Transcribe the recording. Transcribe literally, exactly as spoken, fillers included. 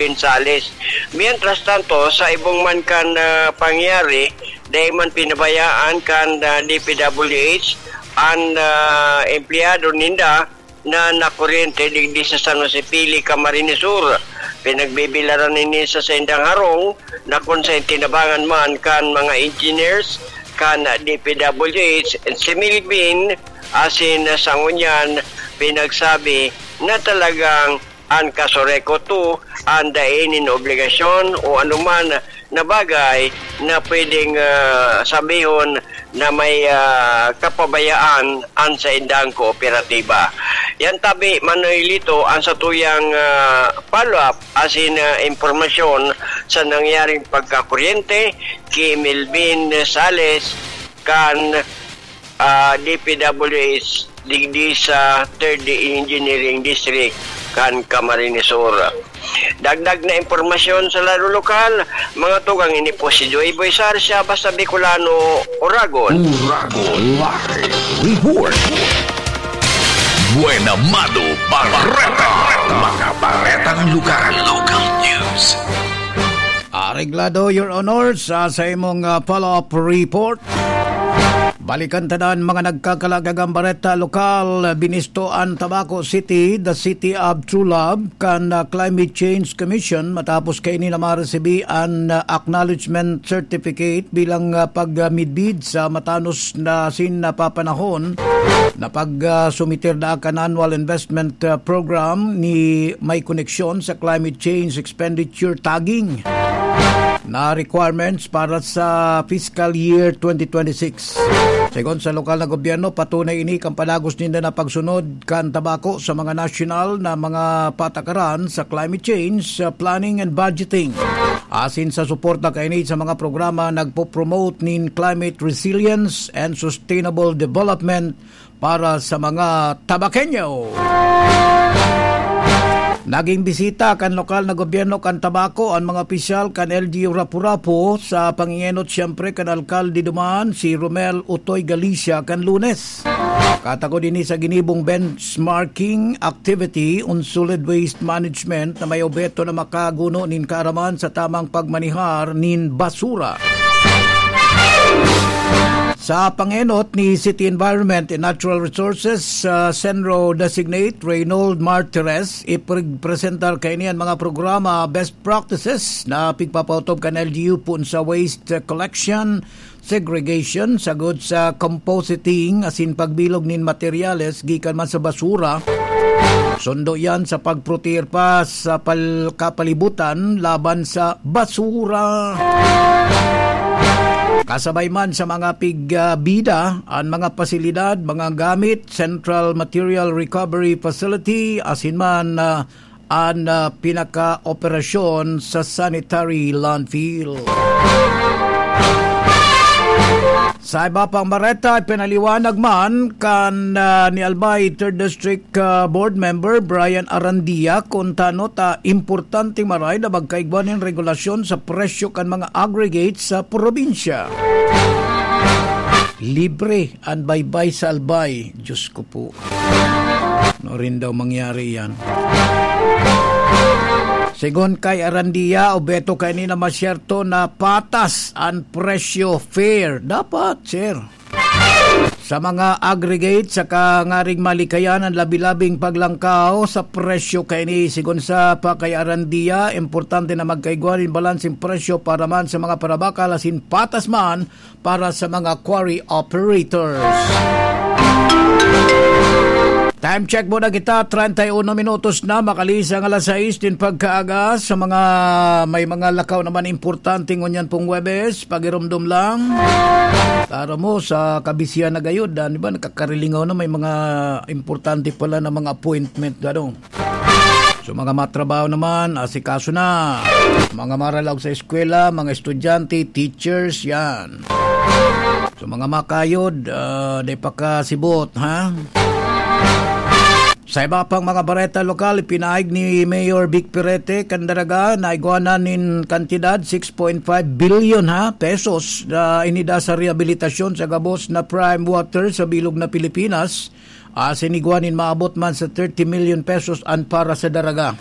Pinsales. Mientras tanto, sa ibong man kan, ah, pangyari, dai man pinabayaan kan, ah, D P W H an, ah, empleyado ninda na nakuryente digdi sa San Jose Pili, Camarines Sur. Pinagbibilaran ini sa saindang harong na kung sa tinabangan man kan mga engineers kan D P W H, si Melvin asin sa ngunyan pinagsabi na talagang an Casureco two an dai nin obligasyon o anuman na bagay na pwedeng, ah, sabihon na may, ah, kapabayaan an saindang kooperatiba. Yan tabi, Manoy Lito, ang satuyang, ah, follow-up asin, ah, impormasyon sa nangyaring pagkakuryente ki Melvin Sales kan, ah, D P W H digdi sa Third Engineering District kan Camarines Sur. Dagdag na impormasyon sa lado lokal, mga tugang, ini po si Joy Boy Sarsia, basta Bicolano, Oragon. Oragon Live Report. Buena Mado Barreta. Mga baretang lokal. Local news. Areglado, Your Honor, sa, sa imong, ah, follow-up report. Balikan ta na an mga nagkakalagang bareta lokal. Binisto an Tabaco City, the City of True Love, kan, ah, Climate Change Commission matapos kaini na maresibi an, ah, acknowledgement certificate bilang, ah, pagmidbid sa matanos na asin napapanahon na pag, ah, sumiter na kan annual investment, ah, program ni may koneksyon sa climate change expenditure tagging na requirements para sa fiscal year twenty twenty-six. Segun sa lokal na gobyerno, patunay ini kan padagos ninda na pagsunod kan tabako sa mga nasyonal na mga patakaran sa climate change, sa planning and budgeting. Asin sa suporta kaini sa mga programa nagpo-promote nin climate resilience and sustainable development para sa mga Tabaqueño. Naging bisita kan lokal na gobyerno kan Tabaco an mga opisyal kan L G U Rapu-Rapu sa pangingenot siyempre kan alkalde duman, si Romel Utoy Galicia, kan Lunes. Katakod ini sa ginibong benchmarking activity on solid waste management na may obheto na makaguno nin kaaraman sa tamang pagmanihar nin basura. Sa pangenot ni City Environment and Natural Resources, ah, CENRO Designate Reynold Martires, ipresentar kaini an mga programa best practices na pigpapautob kan L G U poon sa waste collection, segregation, sagkod sa compositing asin pagbilog nin materyales gikan man sa basura. Sundo yan sa pagproteher pa sa pal-, kapalibutan laban sa basura. Kasabay man sa mga pigbida, an mga pasilidad, mga gamit, Central Material Recovery Facility, asin man, ah, an, ah, pinaka-operasyon sa sanitary landfill. Sa iba pang bareta, ipinaliwanag man kan, ah, ni Albay Third District, ah, Board Member Brian Arandia kun tano ta importante maray na magkaigwa nin regulasyon sa presyo kan mga aggregates sa probinsya. Libre an baybay sa Albay. Diyos ko po. Ano rin daw mangyari yan? Segun kay Arandia, obheto kaini na masyerto na patas an presyo, fair. Dapat, sir. Sa mga aggregate, saka ngaring malikayan an labi-labing paglangkaw sa presyo kaini. Segun sa pa kay Arandia, importante na magkaigwa nin balanseng presyo para man sa mga parabakal asin patas man para sa mga quarry operators. Time check muna kita, treinta y uno minutos na, makalihis an alas sais nin pagkaaga. Sa mga may mga lakaw naman importante ngunyan pong Huwebes, pagirumdom lang. Taro mo, sa kabisihan na gayod, ah, di ba, nakakarilingaw na may mga importante pala na mga appointment, gano. So, mga matrabaho naman, asikaso na. Mga maralaog sa eskwela, mga estudyante, teachers, yan. So, mga makayod, ah, di pa kasibot, ha? Sa iba pang mga bareta lokal, ipinaig ni Mayor Vic Perete kan Daraga na igwanan nin kantidad six point five billion, ha, pesos na inida sa rehabilitasyon sa gabos na prime water sa bilog na Pilipinas. Asin igwa nin maabot man sa thirty million pesos an para sa Daraga.